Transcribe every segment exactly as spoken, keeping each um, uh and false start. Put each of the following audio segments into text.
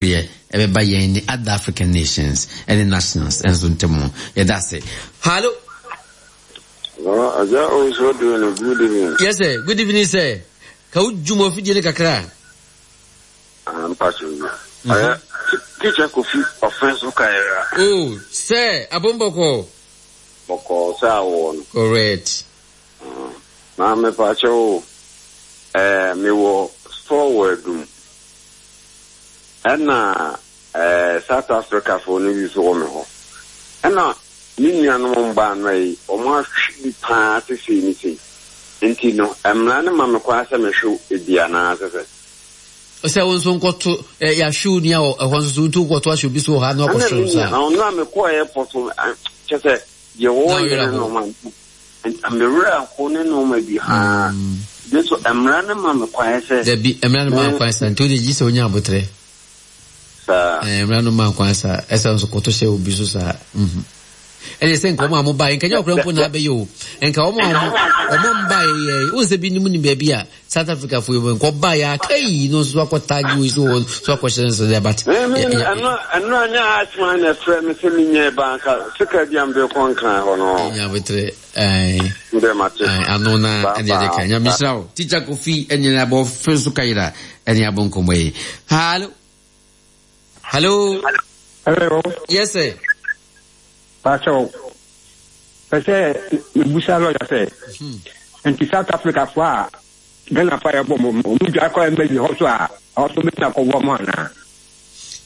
Ɛbɛba yɛn ne other African nations ɛne nationals ɛnso ntam. Yɛda ase. Hallo. Hello, Aja also doing a good evening. Yes sir, good evening sir. Ka wo dwuma ofidie no kakra. I'm passing you. Uh, teacher Kofi offense Kaira. Oh, sir, abomboko. Boko sa wo no. Correct. Na me pa cho eh me wo store wɔ Adum. Ɛna eh South Africa fo no bi so wɔ me hɔ. Ɛna me nuanom mbaa no yi, ɔmo ahwe bi paa te sei ne sei. Nti no, mmara no ma me kwan sɛ mehwe ebi anaa sɛ sɛ. Sɛ wo nso nkɔto yɛahwe wo nua wɔ ɛhɔ nso so, nti wokɔto ahyɛ obi so wɔ ha na wakɔhwe wo saa. Na ɔno a mekɔɔ airport so, kyɛ sɛ deɛ wɔyɛ ne nneɛma nti mewerɛ aho ne nneɛma bi haa. De so mmara no ma me kwan sɛ. Dabi, mmara no ma kwan saa, nti wode gye sɛ wonya abotrɛ. Saa. Mmara no ma kwan saa, ɛsɛ nso kɔto hyɛ obi so saa. Ɛne sɛ nka ɔmo a mo baeɛ, nka nyɛ ɔkora mpo na abɛyɛ o. Nka ɔmo a ɔmo ɔmo mbaeɛ yɛ, wo sɛ bi nim nim baabi a South Africa fo yi nka ɔbaeɛ a kai no nso akɔ tag wei so wɔ so akɔhyɛ nso dɛ, but. Ɛno ɛno anyɛ Ashman na ɛfrɛ me sɛ menyɛ banka sika bi a mede kɔ Nkran hɔ no. Nya abotrɛ. Ɛɛ. Ndɛ mate. Ano na ɛne ɛde ka. Nyame hyira wo. Teacher Kofi ɛne ne abɔ fɛ so kayira ɛne abɔ nkɔmmɔ yi. Hello. Hello. Hello. Yes sir. Pacho. Pɛ sɛ mebusa lɔya sɛ nti South Africa fo a Ghana fo a yɛbɔ mo ɔmo dwa kɔ embassy hɔ so a, ɛhɔ so bɛtumi akɔboa mo anaa?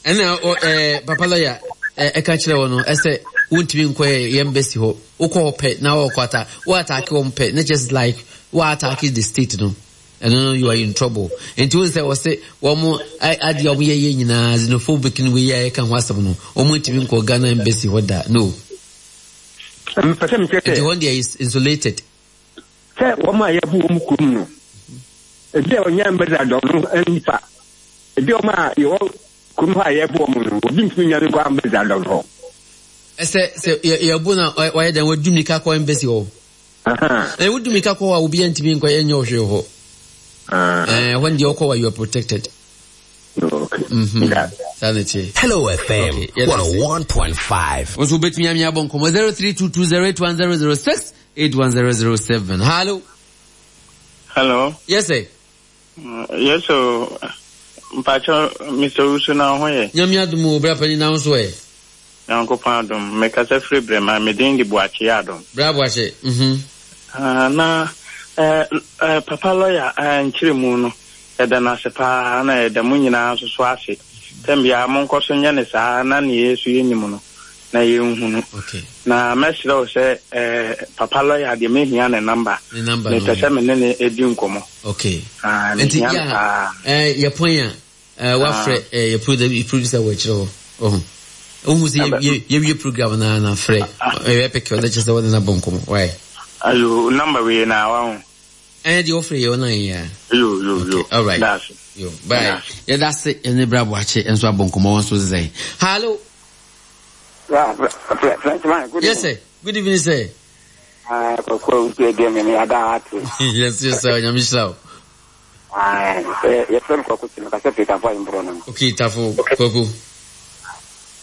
Ɛna ɛɛ papa lɔya ɛka kyerɛ wɔ no ɛsɛ wontumi nkɔ yɛ embassy hɔ. Wokɔ hɔ pɛ na wɔkɔ ata wo attack wɔn pɛ na just like wo attack the state no, ɛno no you are in trouble. Nti wɔn sɛ wɔsɛ wɔn adeɛ a wɔn yɛ yɛ nyinaa xenophobic no, wei a yɛka ho asɛm no, wɔn ntumi nkɔ Ghana embassy hɔ da no. Mpɛ sɛ mekyerɛ sɛ nti wɔn deɛ is insulated. Sɛ wɔn a yɛbu wɔn kurom no, ebi a ɔnyɛ embassy adɔ no nipa, ebi a wɔn a yɛwɔ kurom hɔ a yɛbu wɔn no, obi ntumi nya no nkɔ embassy adɔ hɔ. Ɛsɛ sɛ yɛbu na wɔyɛ dɛn wɔdu mirika kɔ embassy hɔ. Ɛɛ wodu mirika kɔ hɔ a, obi ntumi nkɔ ɛnyɛ ɔhwee hɔ. Ɛɛ hɔ deɛ ɔkɔ wa, you are protected. Okay. Saa na ɛteɛ. Hello F M Okay, yeah, that's it. one oh one point five. Nso wobɛtumi ame abɔ nkɔmmɔ zero three two two zero eight one zero zero six eight one zero zero seven. Hello. Hello. Yes sir. Uh, yes, so Mpacho, Mister Usu na ho yɛ. Nyame adom o, bra pani, na wo so ɛ? Nyankopɔn adom. Mekasa firi Brɛma, me din de Boakye Adom. Bra Boakye. Mhm. Uh, na uh, uh, papa lawyer uh, nkyerɛ mu no, yɛda no ase paa na yɛda mo nyinaa nso so ase. Tɛm biara monkɔ so nyɛ ne saa na ne yɛ so yɛnim no na yɛnhunu. Okay. Na mɛsrɛ wo sɛ uh, papa lawyer deɛ, mehia ne number. Ne number no. Mepɛ sɛ me ne ne ɛdi nkɔmmɔ. Okay. Ah, nti mehia no yɛ paa. ɛɛ yɛ pɔn a ɛɛ wafrɛ ɛɛ yɛ producer producer wɔ akyerɛ hɔ. Ɔho. Wohu sɛ Abɛ- yɛ yɛwie program na na frɛ. Ɛyɛ pɛkɛ ɔdɛ kyerɛ sɛ wɔde na bɔ nkɔmmɔ. Why? Ayo, number wei na wahu. Ɛyɛ deɛ wɔfrɛ yɛ ɔnan yɛ a. Yo, yo, yo. Okay, all right. That's it. Yo, bye. Yɛda ase ɛne bra Boakye nso abɔ nkɔmmɔ wɔn nso sɛ. Hello. Frenchman, good Yes sir. Good evening, sir. Ah, Kɔkɔ nti ɛdeɛ me me ada ate. yes yes sir. Nyame hyira wo. Ah, yɛfrɛ me Kwaku Tino, kasɛ firi Tafo Ahemborɔ no. Okay, Tafo Kwaku.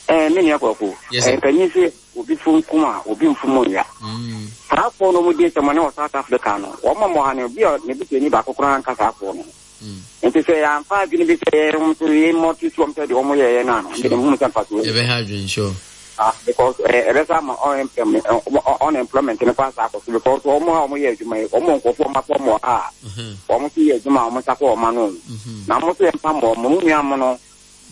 Eh, me nua Kwaku. Yes sir. Eh, panyin sɛ obi fom kum a, obi mfom nya. Mm. Saa afoɔ no ɔmo di nsɛm ne wɔ South Africa no, wɔn ma ha no, obi a ne busuani baako koraa nka saa afoɔ no. Mm. Nti sɛ yɛamfa adwene bi sɛ yɛn nso yɛmmɔto so wɔm sɛ deɛ ɔmo yɛyɛ no ano, nti mehu sɛ mfa so. Yɛbɛha adwene, sure. Ah, because ɛbɛsa ama unemployment unemployment no kɔ asa akɔ so, because wɔn a wɔyɛ adwuma yi, wɔn nkurɔfoɔ wɔn afɔ wɔn a wɔn nso yɛ adwuma a wɔn nsa kɔ wɔn ano na wɔn nso yɛ mpam wɔn mo nua mo no,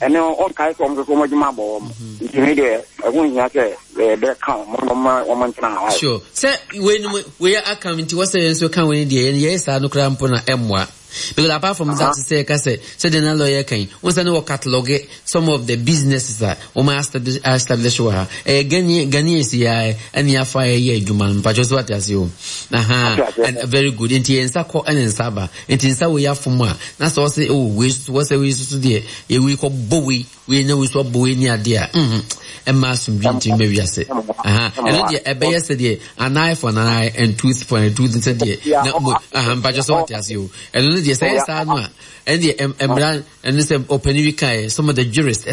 ɛne ɔnkae sɛ wɔn nso so wɔn adwuma abɔ wɔn. Nti mi deɛ, ɛho nhia sɛ yɛbɛka wɔn na wɔn wɔn ntena ha. Sure. Sɛ wei no wei aka nti wɔsɛ yɛn nso ka wei deɛ, yɛn yɛyɛ saa no koraa mpo na ɛmmoa, because apart from that, sɛ yɛka sɛ sɛdeɛ na lawyer kan wɔn sɛ ne wɔ catalogue some of the businesses a wɔn establish establish wɔ ha, ɛyɛ Ghanaian Ghanaians yɛ ɛne afa yɛyɛ adwuma no mpatwɛ so ate ase o. Aha, and very good. Nti yɛn nsa kɔ ɛne nsa aba, nti nsa wei afom a na sɛ ɔsɛ oh wei soso wɔsɛ wei soso deɛ yɛ wei kɔ bɔ wei wei na wei so abɔ wei ne adeɛ a mhm ɛma asomdwe ntumi ma wiase. Aha, ɛno deɛ ɛbɛyɛ sɛ deɛ an eye for an eye and tooth for a tooth, sɛ deɛ na mo aha mpatwɛ so ate ase o. Ɛno no deɛ, sɛ ɛyɛ saa no a, ɛno deɛ mmara ɛno sɛ ɔpanin bi kaeɛ, some of the jurists